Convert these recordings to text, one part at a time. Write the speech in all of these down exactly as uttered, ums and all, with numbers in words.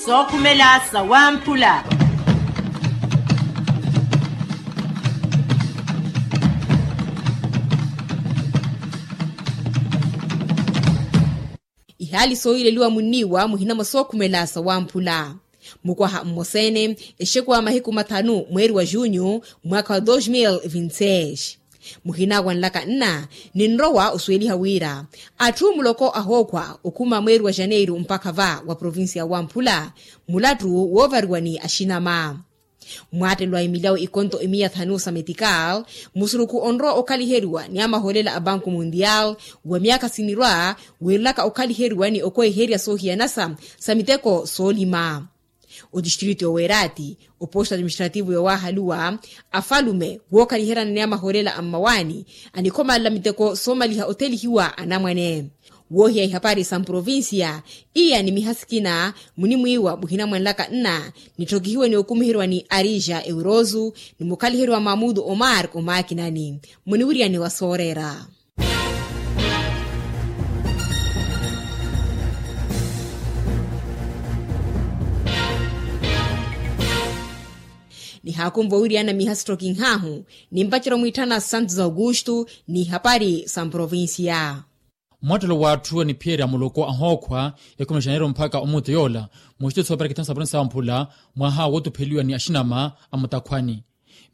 Sookhumela sawamphula. Ihaali sooyileliwa munniiwa muhina mwa sookhumela sawamphula. Mukwaha mmosa-ene exekuwa mahiku mathanu mweeri wa junyu mwaakha wa dos mil vinti seis. Muhina wanlaka nna ninrowa osuweliha wira atthu muloko ahookhwa okhuma mweeri wa janeiru mpakha va wa provincia ya wamphula mulattu woovariwa ni axinama. Mwaattelo a emilyawo ikonto emiya thanu sa metikal musurukhu onrowa okhaliheriwa ni amahoolela a banku mundial wa myaakha sinirwa wiirelaka okhaliheriwa ni okweherya soohiyanasa sa miteko soolima. Otistritu yoweerati oposto administrativu yowaahaluwa afalume wookhaliheryana ni amahoolela a mmawaani anikhomalela miteko soomaliha othelihiwa anamwane. Woohiya ihapari sa mprovincia iya ni miha sikina munimwiiwa muhina mwanlaka nna nitthokihiwe ni okumiherwa ni arija eurozu ni mukhaliheriwa mamudu omar omaakinani muniwiryani wa sooreera. Nihaakunva owiryana miha sittokinhahu nimpacerya omwiitthana santos augusto ni ihapari sa mprovincia. Mwattelo w'atthu aniphiyerya muloko ahookhwa ekhumi na janeiru mpakha omuutu yoola muxitiso opera kithanu sa provincia ya wamphula mwaha wootupheliwa ni axinama a mutakhwani.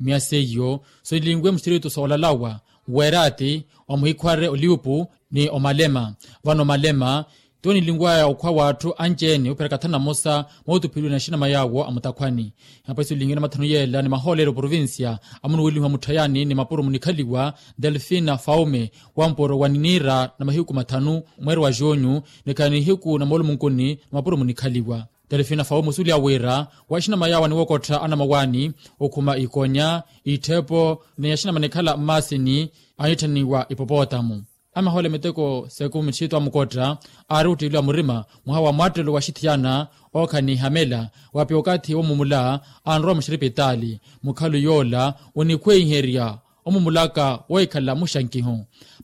Miya seiyo sonilinwe muxitiritu sa olalawa weerati omuhikhware oliupu ni omalema. Vano omalema tiwo nilinwaya okhwa w'atthu anci-ene opera kathanu na mosa mootupheliwa ni axinama yaawo a mutakhwani. Ihapari sonilinwene mathanu yeela ni mahoolelo provincia amunuwelihiwa mutthayani ni mapuro munikhaliwa delfina faume wampuro wa niniira na mahiku mathanu mweeri wa junyu nikhala nihiku na moolumunkuni na mapuro munikhaliwa. Delfina faume osuweliha wira wa axinama yaawo aniwokottha anamawaani okhuma ikonya itthepo ni axinama anikhala mmaasini anitthaniwa ipopotamu. Amahoole miteko seekumi txitu amukotta aari ottiiliwa murima mwaha wa mwattelo wa axithiyana ookha ni ihamela wapi okathi womumula anrowa muxiripitaali. Mukhalu yoola onikhweiherya omumulaka wohikhala muxankiho.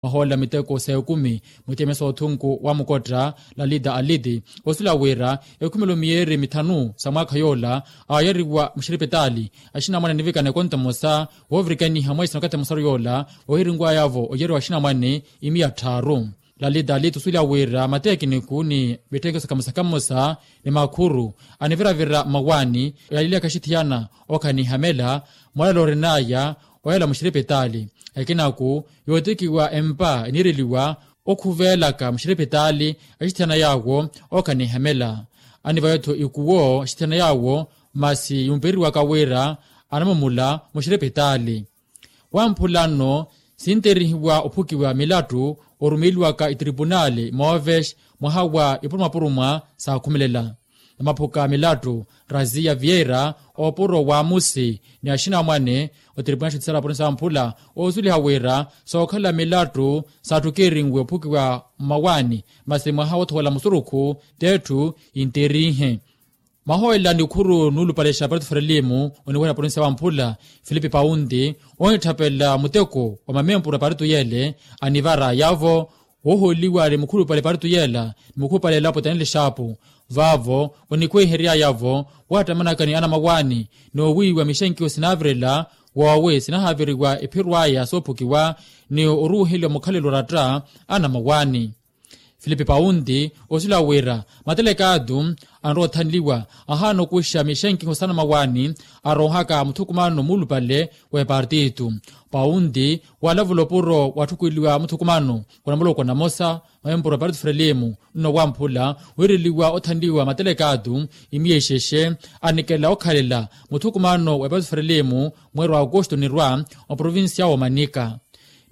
Mahoolela miteko seekumi mutemesa othunku wa mukotta lalita aliti osuwela wira ekhumelo miyeeri mithanu sa mwaakha yoola aayariwa muxiripitaali axinamwane anivikana ekonto emosa woovirikaniha mweesi na okathi emosaru yoola ohirinwayavo oyariwa axinamwane imiya tthaaru. Lalita aliti osuwela wira matekiniku ni mitthekelo sa kamosa kamosa ni makhuru aniviravira mmawaani oyalilaka axithiyana ookha ni ihamela moolelo orinaya oyala muxiripitaali. Ekinaku yootikiwa empa eniireliwa okhuvelaka muxiripitaali axithiyana yaawo ookha ni ihamela. Anivaya-tho ikuwo axithiyana yaawo masi yumpereriwaka wira anamumula muxiripitaali. Wamphula nno sinterihiwa ophukiwa milattu orumeeliwaka itiripunaali moovex mwaha wa ipurumapuruma saakhumelela. Namaphuka milattu razia vieira opuro wa musi ni axinamwane otiripunaali axittisala apurinsa amphula oosuweliha wira sookhala milattu saattukirinwe ophukiwa mmawaani masi mwaha woothowela musurukhu t'etthu yinterihe. Mahoolela nikhuru nuulupale xa parito ferelimu oniweha na provincia wamphula filipe paunti onitthapela muteko wa mamempuru a parito yeele anivarayavo woohooliwa ni mukhulupale parito yeela ni mukhulupale elapo taneli xaapu. Vaavo onikhweiheryayavo wattamanaka ni anamawaani noowiiwa mixenkiho sinaavirela woowi sinahaaviriwa ephiro aya soophukiwa ni oruuheliwa mukhalelo oratta anamawaani. Filipe paunti osuwela wira matelekaatu anrowa othanliwa ahaana okuxa mixenkiho s'anamawaani aroohaka muthukumano muulupale wa epartitu. Paunti waalavula opuro watthukweliwa muthukumano wa namuloko namosa mwa empuro ya partitu frelimu nno wamphula wiireliwa othanliwa matelekaatu imiya ixexe anikela okhalela muthukumano wa partitu frelimu mweeri wa aukusto nirwa oprovincia woomanika.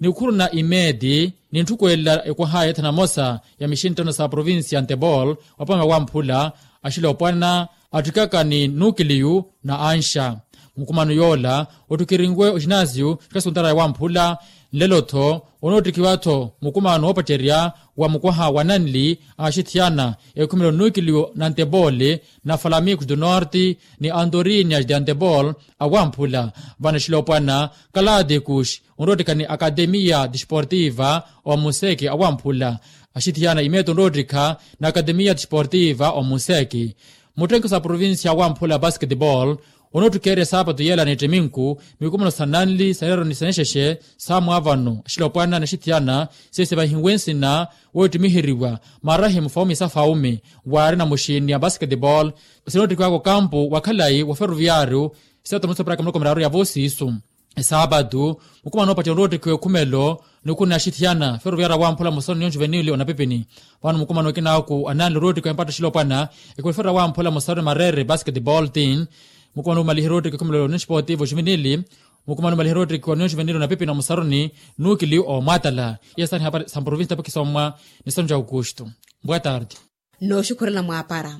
Nikhuru na imedi nintthukwelela ekwaha ya ethanamosa ya mixinttano sa provincia ntebol wapamela wamphula axilopwana attikaka ni nukiliyu na anxa. Mukumano yoola ottikirinwe oxinasiyu xikasuntara ya wamphula nlelo-tho onoottikiwa-tho mukumano woopacerya wa mukwaha wa nanli axithiyana ekhumelo nukiliyu na ntebol na falamikus do norte ni antorinia de antebol awamphula vano axilopwana kalatikus onroottikha ni akademiya disportiva omuseke awamphula. Axithiyana imeto onroottikha na akademiya disportiva omuseke. Muttenki sa provincia wamphula basketball onoottikheerya saapatu yeela n'ettiminku, mikumano sa nanli sa neeroni sa nexexe sa mwaavano axilopwana n'axithiyana, siisivahiwe nsina woottimiheryiwa marahimu fawumi sa fawumi, waari na muxini ya basketball sinoottikiwaka okampu wa khalayi wa ferroviario. Sitaata mutsoperaaka miloko miraaru ya voosiisu. Esaapatu mukumano oopattiwa onoottikhiwa ekhumelo nikuna axithiyana ferroviario wamphula musaroni ni onjuvenili onapipini. Vano mukumano okinaaku ananli onoottikhiwa empatta axilopwana ekhumelo ferroviario wamphula musaroni mareere basketball tin. Mukumano omaliherya oottikhiwa ekhumelo ni esportivo juvenili. Mukumano omaliherya oottikhiwa ni onjuvenili onapipini omusaroni nuukili omwatala. Iya saani hapari sa mprovinsi tapokisomwa ni sanu ja aukustu. Boa tarde. Nooxukhurela mwaapara.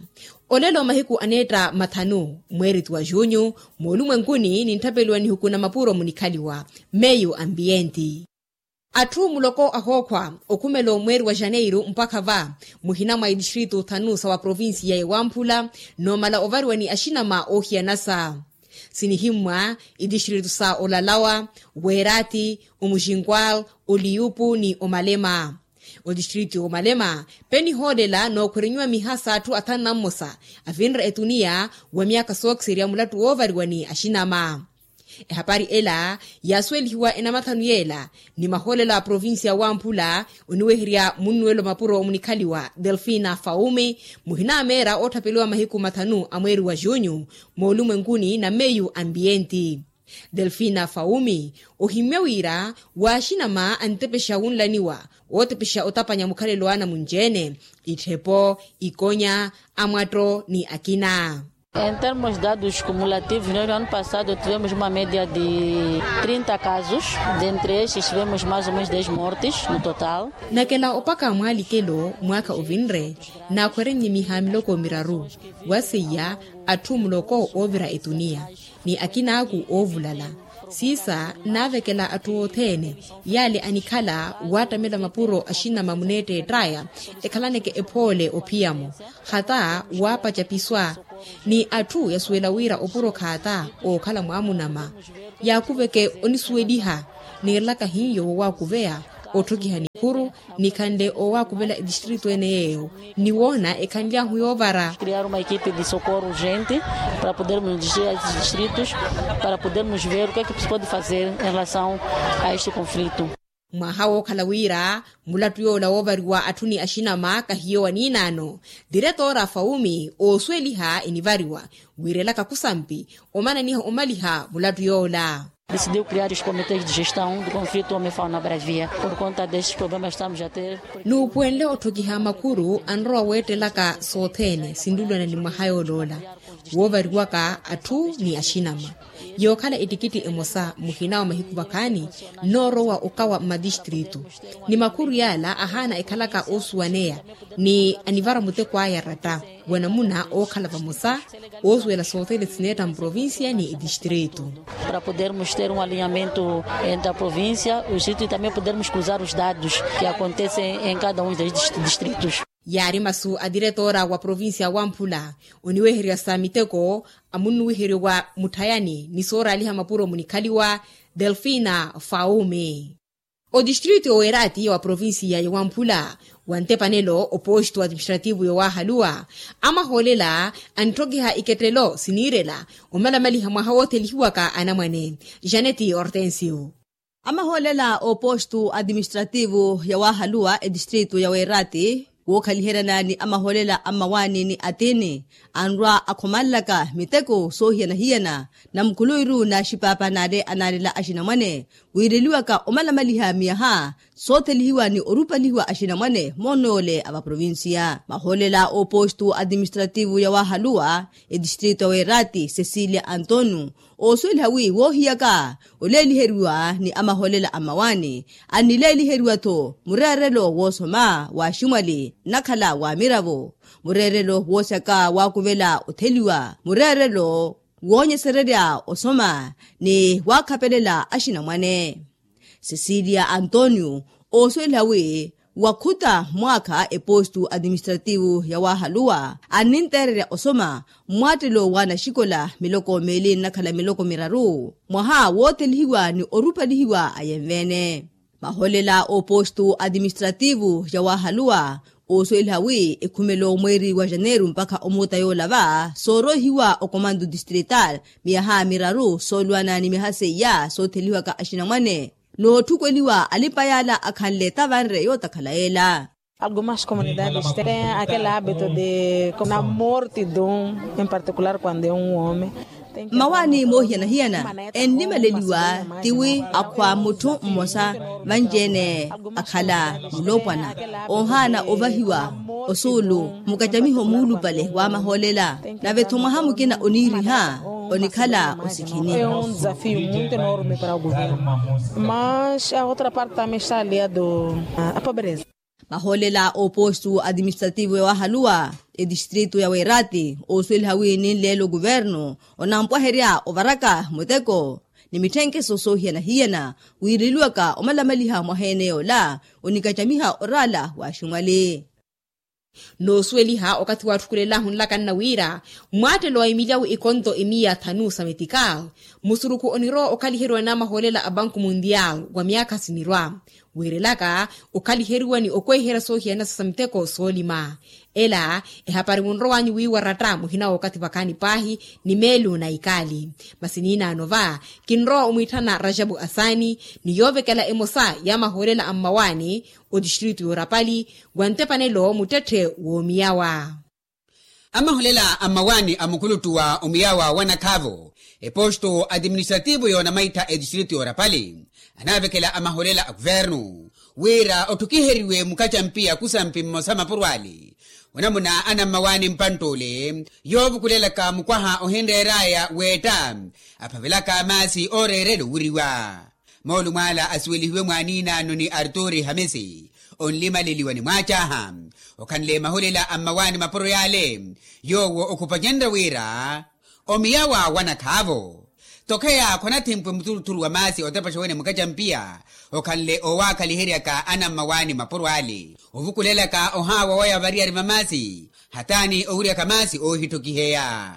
Olelo mahiku aneetta mathanu mweeriti wa junyu moolumwenkuni nintthapeliwa nihuku na mapuro munikhaliwa meyu ambienti. Atthu muloko ahookhwa okhumela omweeri wa janeiru mpakha va muhina mwa itistritu thanu sa wa provinsiya ya wamphula noomala ovariwa ni axinama oohiyanasa. Sinihimmwa itistritu sa olalawa, weerathi, omuxinkwal, oliyupu ni omalema. Otistritu ya omalema penihoolela nookhwerenyiwa miha s'atthu athanu na mmosa avinre etuniya wa myaaka sookiserya mulattu woovariwa ni axinama. Ehapari ela yaasuwelihiwa enamathanu yeela ni mahoolela a provinsiya wamphula oniweherya munnuwelo mapuro munikhaliwa delfina fawumi muhina a meera ootthapeliwa mahiku mathanu a mweeri wa junyu moolumwenkuni na meyu ambienti. Delfina fawumi ohimmya wira waaxinama antepexa wunlaniwa wootepexa otapanya mukhalelo wa anamunci-ene, itthepo, ikonya, amwatto ni akina. Em termos de dados cumulativos no ano passado tivemos uma media de trinta casos. Dentre estes tivemos mais ou menos dez mortes no total. Nakela opaka mwaalikelo mwaakha ovinre naakhwerennye miha miloko miraru wa seiya atthu muloko oovira etuniya ni akinaaku oovulala. Siisa naavekela atthu othene yaale anikhala waattamela mapuro axinama muneetteett'aya ekhalaneke ephoole ophiyamo khata waapaca piswa ni atthu yasuwela wira opuro khaata ookhala mwaamunama. Yaakuveke onisuweliha niirelaka hiyo woowakuveya otthokiha nikhuru nikhanle owaakuvela etistritu ene yeeyo ni woona ekhanly'ahu yoovara. Criar uma equipe de socorro urgente para podermos nos dirigir a estes distritos para podermos ver o que é que se pode fazer em relação a este conflito. Mwaha wookhala wira mulattu yoola woovariwa atthu ni axinama kahiyo wa niinaano. Diretoora fawumi oosuweliha enivariwa wiirelaka khusampi omananiha omaliha mulattu yoola. Decidiu criar os comités de gestão do conflito homem fauna bravia por conta destes problemas estamos a ter. Nuupuwenle otthokiha makhuru anrowa weettelaka sothene sinlulwana ni mwaha yooloola woovariwaka atthu ni axinama yookhala ettikitti emosa muhina wa mahiku vakhaani nnoorowa okawa mmatistritu ni makhuru yaala ahaana ekhalaka oosuwaneya ni anivara muteko aya ratta wa namuna ookhala vamosa oosuwela sothene sineetta mprovincia ni etistritu. Para podermos ter um alinhamento entre a provincia os distritos e também podermos cruzar os dados que acontecem em cada um dos distritos. Yaari masu a diretoora wa provincia wamphula oniwehererya sa miteko amunnuwiheryo wa mutthayani ni sooraaliha mapuro munikhaliwa delfina fawumi. Otistritu ya weeraati ya wa provincia ya wamphula wa ntepanelo oposto administrativo ya waahaluwa amahoolela antthokiha ikettelo siniirela omalamaliha mwaha woothelihiwaka anamwane. Janeti hortensio. Amahoolela oposto administrativo ya waahaluwa etistritu ya weeraati wookhaliheryana ni amahoolela a mmawaani ni atini anrwa akhomanlaka miteko soohiyana-hiyana na mukhuluwiru n'axipaapa n'ale anaalela axinamwane wiireliwaka omalamaliha miyaha soothelihiwa ni orupalihiwa axinamwane moonoole a vaprovincia mahoolela oposto administrativo ya waahaluwa etistritu ya weeraati cecilia antonio oosuweliha wi woohiyaka oleeliheriwa ni amahoolela a mmawaani annileeliheriwa-tho mureerelo woosoma waaximwali nnakhala waamiravo mureerelo woosyaka waakuvela otheliwa mureerelo woonyesererya osoma ni waakhapelela axinamwane. Cecilia antonio oosuweliha wi wakhuta mwaakha epostu administrativo ya waahaluwa anninteererya osoma mmwaattelo w'anaxikola miloko meeli nnakhala miloko miraru mwaha woothelihiwa ni orupalihiwa ayenve-ene. Mahoolela a opostu administrativo ya waahaluwa Oosuweliha wi ekhumelo mweeri wa janeiro mpakha omuuta yoola va sooroihiwa okomanto distrital miyaha miraru soolwana ni miyaha seiya sootheliwaka axinamwane nootthukweliwa alipa yaala akhanle tavanre yootakhala yeela. Algumas comunidades têm aquele hábito de na morte de um em particular quando é um homem. Mmawaani moohiyana-hiyana enlimaleliwa tiwi akhwa mutthu mmosa vanci-ene akhala muloopwana oohaana ovahiwa osuulu mukacamiho muulupale wa mahoolela. Nave-tho mwaha mukina oniiriha onikhala osikhini. Mas a outra parte também está aliado a pobreza. Mahoolela a oposto administrativo yawaahaluwa etistritu ya weerati oosuweliha wi ninleela okuvernu onampwaherya ovaraka muteko ni mitthenkeso soohiyana-hiyana wiireliwaka omalamaliha mwaha-ene yoola onikacamiha oraala wa aximwali. Noosuweliha okathi waatthukulelahu nlakanna wira mwaattelo wa emilyawu ikonto imiya thanu sa metikal musurukhu onirowa okhaliheriwa n'amahoolela a banku mundial wa myaakha sinirwa wiirelaka okhaliheriwa ni okweiherya soohiyanasa sa miteko soolima. Ela ehapari munrow'anyu wiiwaratta muhina w'okathi vakhaani paahi ni meelu na ikaali. Masi niinaano va kinrowa omwiitthana rajabu asaani ni yoovekela emosa y'amahoolela a mmawaani otistritu y'orapali wa ntepanelo muttetthe w'omiyawa. Amaholela a mmawaani a mukuluttu wa omiyawa wa nakhaavo eposto atiministrativo yoonamaittha etistritu y'orapali anaavekela amaholela a kuvernu wira otthukiheriwe mukacampiya kusampi mmosa mapuro ale onamuna anammawaani mpantt'ule yoovukulelaka mukwaha ohinreer'aya weetta aphavelaka maasi ooreerela owiriwa. Moolumo ala asuwelihiwe mwaaniinaano ni arturi hamisi onlimaleliwa ni mwaacaaha okhanle mahulela a mmawaani mapuro yaale yoowo okhupacenrya wira omiyawa wa nakhaavo tokheya khwanathempwe muthuluthulu wa maasi otepaxa wene mukacampiya okhanle oowaakhaliheryaka anammawaani mapuro ale ovukulelaka ohaawa waya variyari va maasi hataani owiryaka maasi oohittokiheya.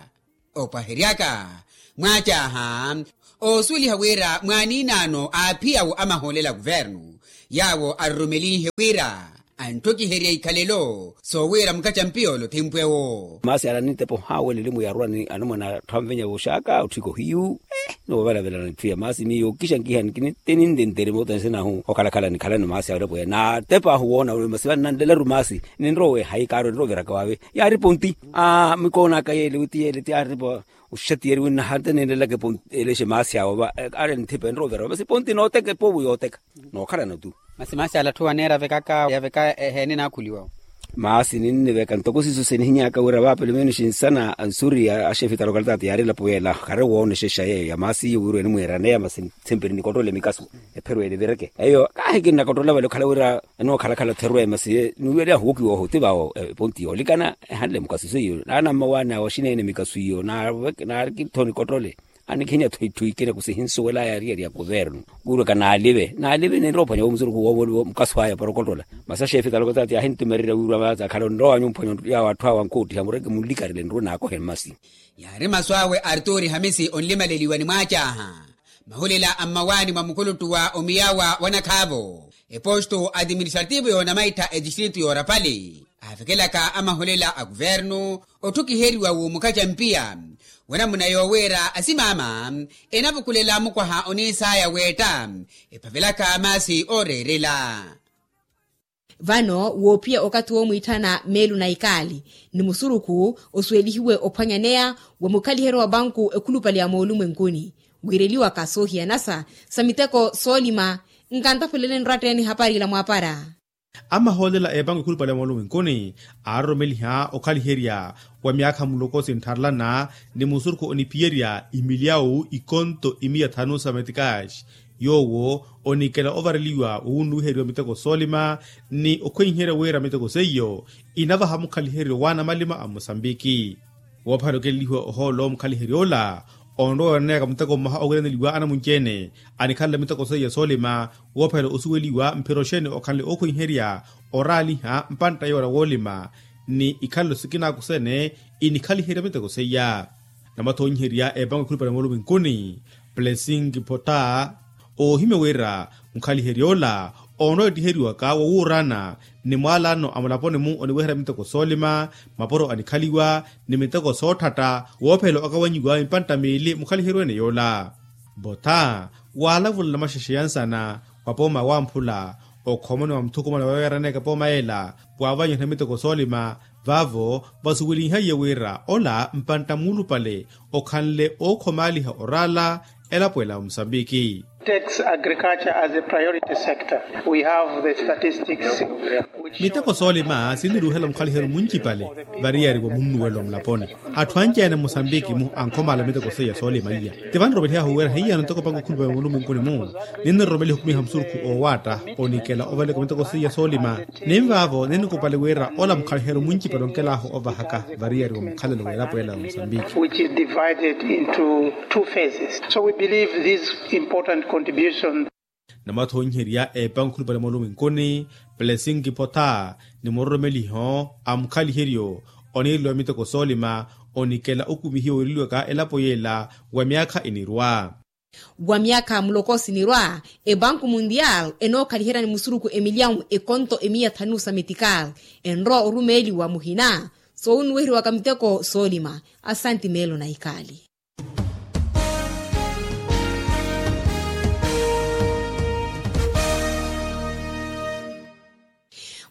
Opwaheryaka mwaacaaha oosuweliha wira mwaaniinaano aaphiyawo amahoolela a kuvernu yaawo arurumelihe wira anttokiherya ikhalelo soowira mukacampiya ole othempwewo. Maasi ala nintepa ohaawa elilimu yarwa ni anamwana atthu anvenya vooxaaka otthika ohiyu. Noovalavelana etthu ya maasi miyo kixa nkiha nkiniteni ndentere moota nsinahu okhalakhala nikhalani maasi awerepo ya naatepaahu woona masi vannanlelaru maasi ninrowe hayi kaaro ninroviraka waave. Yaari ponti aa mikoonaka yeele witi yeele ti aaripa oxatiyeri winna hata ninlelaka ponti elexe maasi awo va. Aari nthipa enroovira masi ponti nooteka epovo yooteka nookhalana tu. Masi maasi ala atthu aneera avekaka yaveka eheene naakhuliwa. Maasi ninniveka ntoko siiso sinihinyaka wira vaapelo menos nsana ansuri axefe ta lokalitaati yaari elapo yeela khare woonexexa yeeyo ya maasi iyo wira enimwiiraneya masi nthemperi nikottole mikasu epherweele vireke eyo kaahi kinnakottola vale okhala wira enookhalakhala therwe masi niwiyeliyahu wokiwa oho ti vaawo eponti yoolikana ehanle mikasu seiyo naanammawaani awo axineene mikasu iyo naarikitho nikottole anikhinya tthwitthu ikina kusihinsuwela yaariyari ya kuvernu. Kuulwaka naalive naalive ninrowa ophwanya wo musurukhu woomoliwa mukaso aya para okottola masi axefe ta lokalitaati yaahintumererya wiirwa maasi akhala onrowa wanyu mphwanya yaawo atthu awo ankootiha mureke munlikarele nruwe naakohe mmasi. Yaari masu awe arturi hamisi onlimaleliwa ni mwaacaaha mahulela a mmawaani mwa mukuluttu wa omiyawa wa nakhaavo eposto atiministrativo yoonamaittha etistritu y'orapali aavekelaka amahulela a kuvernu otthukiheriwa w'omukacampiya wanamuna yooweera asimaama enavukulela mukwaha oniisaya weetta ephavelaka maasi ooreerela. Vano woophiya okathi woomwiitthana meelu na ikaali ni musurukhu osuwelihiwe ophwanyaneya wa mukhaliheryo wa banku ekhulupale ya moolumwenkuni wiireliwaka soohiyanasa sa miteko soolima. Nkantaphulele nratta-ene ehapari ila mwaapara. Amahoolela a epanku ekhulupale ya moolumwenkuni aaroromeliha okhaliherya wa myaakha muloko sintharelana ni musurukhu oniphiyerya imilyawu ikonto imiya thanu sa metikaxi yoowo onikela ovareliwa wowunnuwiheriwa miteko soolima ni okhwenherya wira miteko seiyo inavaha mukhaliheryo wa anamalima a mosambiki. Woophalela okelelihiwa ohoolo mukhaliheryo ola onrowa oonaneyaka muteko mmoha owiraneliwa anamunci-ene anikhalela miteko seiya soolima woophalela osuweliwa mphira oxeeni okhanle ookhwenherya oraaliha mpantta yoola woolima ni ikhalelo sikinaku sene inikhaliherya miteko seiya. Namathoonyiherya epango ekhulupale moolumwenkuni plessing pota oohimya wira mukhaliherya ola Onowettiheriwaka wowuurana ni mwaalano a mulaponi-mu oniweherya miteko soolima, mapuro anikhaliwa, ni miteko sootthatta woophela okawanyiwa mpantta miili mukhaliheryo ene yoola. Votha waalavula namaxexe ya nsana wa pooma wamphula, okhomoni wa muthukumano weeraneke pooma ela, waavanyiha miteko soolima. Vaavo vasuwelinhaiye wira ola mpantta muulupale okhanle ookhomaaliha oraala elapo ela wa musambiki. Takes agriculture as a priority sector. We have the statistics. Miteko soolima sinniruuhela mukhaliheryo muncipale variyari wa munnuwelo mulaponi. Atthu anci-ene musambiki-mu ankhomaala miteko seiya soolima iya. Ti vaniromelihahu wira hiyano ntoko pankukhulupale muluminkuni-mu, ninniromeliha okhumiha musurukhu oowaatta onikela ovaleka miteko seiya soolima. Ninvaavo ninikupali wira ola mukhaliheryo muncipale onkelahu ovahaka variyari wa mukhalelo w'elapo ela ya musambiki. Which is divided into two phases. So we believe this important contribution. Namathonyiherya epankukhulupale moluminkuni, plesinki potha ni muroromeliho a mukhaliheryo oniireliwa miteko soolima onikela okumihiwa wiireliwaka elapo yeela wa myaakha enirwa. Wa myaakha muloko sinirwa, ebanku mundial enookhaliheryani musuruku emilyawu ekonto emiya thanu sa metikal enrowa orumeeliwa muhina soowunnuweheriwaka miteko soolima. Asanti meelo na ikali.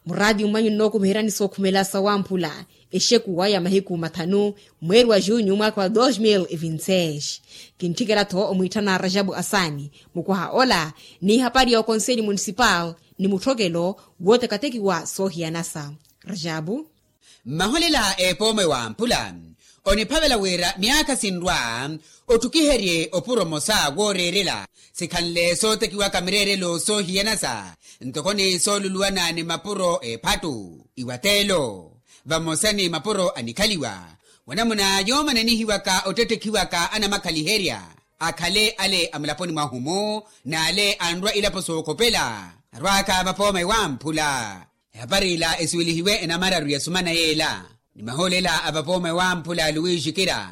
Muraatiyo mwanyu nnookumiheryani sookhumela sawamphula, exekuwa ya mahiku mathanu mweeri wa junyu mwaakha wa dos mil e vinti seis. Kintthikela-tho omwiitthana rajabu asaani mukwaha ola, n'ihapari ya okonseli munisipal ni mutthokelo wootekiwa soohiyanasa. Rajabu. Mmaholela epooma ewamphula oniphavela wira myaakha sinrwa otthukiherye opuro omosa wooreerela sikhanle sootekiwaka mireerelo soohiyanasa ntoko ni sooluluwana ni mapuro ephattu iwateelo vamosa ni mapuro anikhaliwa wanamuna yoomananihiwaka ottettekhiwaka anamakhaliherya akhale ale a mulaponi mwahu-mu n'ale anrwa ilapo sookhopela arwaaka vapooma ewamphula. Ehapari ila esuwelihiwe enamararu ya sumana yeela ni mahoolela a vapooma ewamphula luwiixikira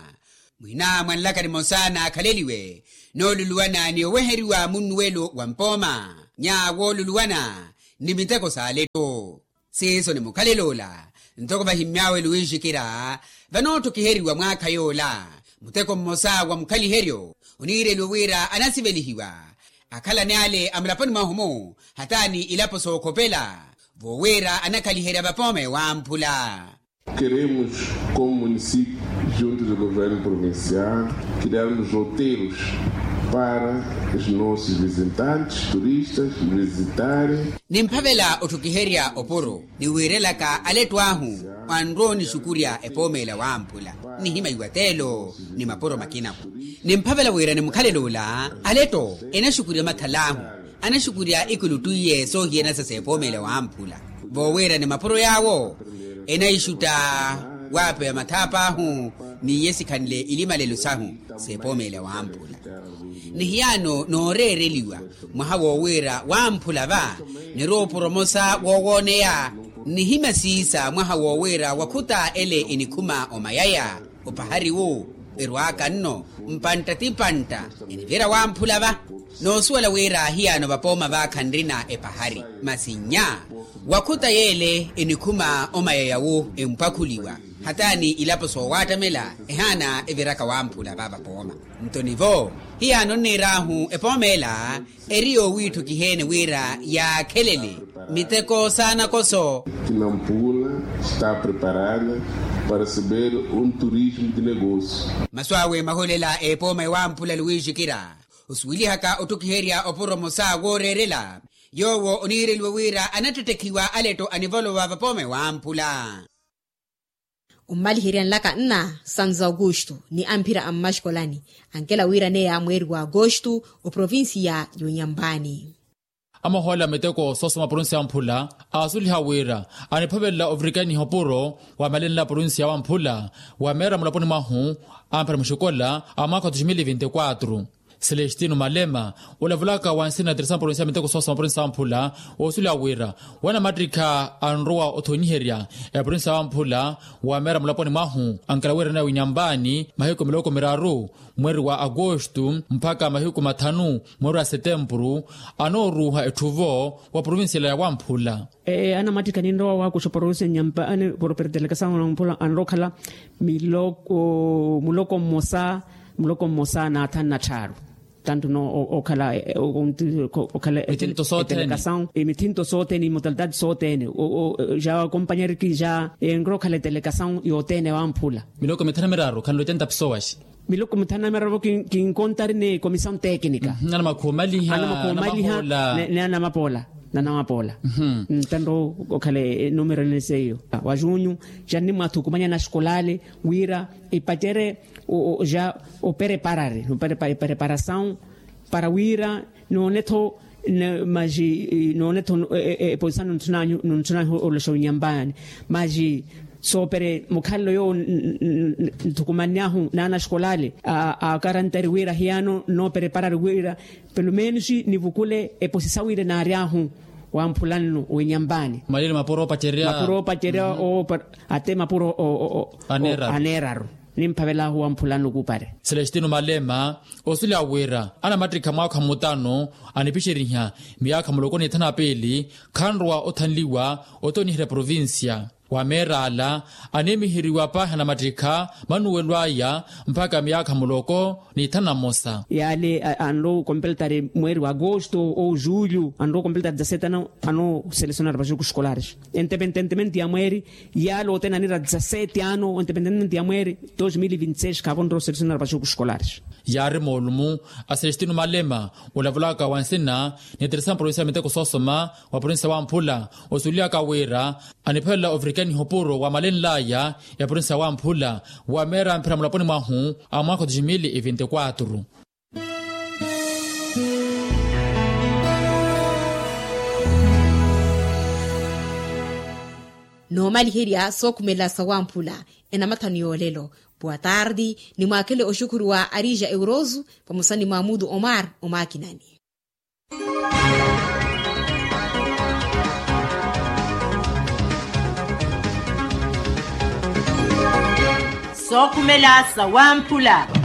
mwina mwa nlaka nimosa naakhaleliwe nooluluwana ni oweheriwa munnuwelo wa mpooma nya wooluluwana ni miteko s'aletto. Siiso ni mukhalelo ola ntoko vahimmy'awe luwiixikira vanootthukhiheriwa mwaakha yoola muteko mmosa wa mukhaliheryo oniireliwe wira anasivelihiwa akhalani ale a mulaponi mwahu-mu hata ni ilapo sookhopela voowira anakhaliherya vapooma ewamphula. Keremos como município junto do governo provincial criarmos roteiros para os nossos visitantes turistas visitarem. Nimphavela otthukiherya opuro ni wiirelaka aletto ahu anrowa onixukurya epooma ela wamphula nihima iwateelo ni mapuro makinahu. Nimphavela wira ni mukhalelo ola aletto enaxukurya omakhal'ahu anaxukurya ikuluttwiye soohiyanasa s'epooma ela wamphula voowira ni mapuro yaawo enaixutta waapeya mathaap'ahu n'iye sikhanle ilimalelo sahu s'epooma ela wamphula. Ni hiyaano nooreereliwa mwaha woowira wamphula va nirowa opuro omosa woowooneya nihima siisa mwaha woowira wakhuta ele enikhuma omayaya opahari wu erwaaka nno mpantta ti mpantta enivyerya wamphula va. Noosuwela wira hiyaano vapooma vaakha nrina epahari masi nnya wakhuta yeele enikhuma omayaya wu empwakhuliwa hata ni ilapo soowaattamela ehaana eviraka wamphula va vapooma. Nto nivo hiyaano nniir'ahu epooma ela eri yoowiitthukiheene wira yaakhelele miteko saanakoso. Kinampula está preparada para receber um turismo de negócio. Masu awe mahoolela epooma ewamphula luwiixikira osuwelihaka otthukiherya opuro omosa wooreerela yoowo oniireliwe wira anattettekhiwa aletto anivolowa vapooma ewamphula. Ommaliherya nlaka nna santo augusto ni amphira a mmaxikolani ankela wiiraneya mweeri wa agosto oprovincia y'onyambaani. Amahoolela miteko soosoma provincia ya wamphula aasuliha wira aniphavelela ovirikaniha opuro wa malenla provincia ya wamphula wa meera mulaponi mwahu amphira muxikola a mwaakha wa dos mil e vinti quatro. Celestino malema, olavulaka wa nsina ya teresa provincia ya miteko sosa maprovincia wamphula, woosuleya wira wanamattikha anrowa othonyiherya eprovincia wamphula, wameera mulaponi mwahu ankela wira nawe winyambaani mahiku miloko miraru mweeri wa agosto mpakha mahiku mathanu mweeri wa setempuru, anooruuha etthuvo wa provincia ela ya wamphula. Anamattikha ninrowa waakuxa provincia nyampa ane property delegasawu wamphula anrowa okhala miloko muloko mmosa muloko mmosa na athanu na tthaaru. Tanto no okhala okhala mithinto sothene mithinto sothene imotalitati sothene ja kompanyariki ja enrowa okhala etelegasawu yothene wamphula. Miloko mithanu na miraru khanloca ntapisowaxi. Miloko mithanu na miraru kinkontari ni komisawu tekinika. Anamakhuwa omaliha ni anamapoola. Nanamapoola. Ntanto okhala enumero ene seiyo wa junyu ja nnimwathukumanya naxikolali wira ipacere ja opereparari opereparasawu para wira noone-tho maji noone-tho eposisa nunthunanyu oloxa winyambaani maji soopere mukhalelo yowo nthukumanny'ahu n'anaxikolali akarantari wira hiyano nnoopereparari wira pelumenixi nivukule eposisa wira enaary'ahu wamphula nnu winyambaani. Mapuro oopacerya ate mapuro aneeraru nimphavel'ahu wamphula nnu kuupare. Celestino malema osuleya wira anamattikha mwaakha mutano anipixeriha miyaakha muloko ni thanu na piili khanrowa othanliwa othonyiherya provincia. Wa meer'ala animiheriwa paahi anamattikha manuwelo aya mpakha miyaakha muloko ni thanu na mmosa. Yaale anrowa okompletari mweeri wa agosto ou julho anrowa okompletari dizasete anooselesionari vaxuku xikolares. Entepententementi ya mweeri yaale othene anira dizasete ano entepententementi ya mweeri dos mil vinti seis khaavo onrowa oselesionari vaxuku xikolares. Yaari moolumu a celestino malema olavulaka wa nsina ni teresa provincia ya miteko soosoma wa provincia wamphula osuuliyaka wira aniphelela ovirikaniha opuro wamalenl'aya eprovincia wamphula wameera mphira mulaponi mwahu a mwaakha wa dos mil e vinti quatro. Noomaliherya sookhumela sawamphula enamathanu yoolelo. Puwa tardi. Nimwaakhele oxukhuru wa arija eurosu vamosa ni mwamudu omar omaakinani. Sookhumela sawamphula.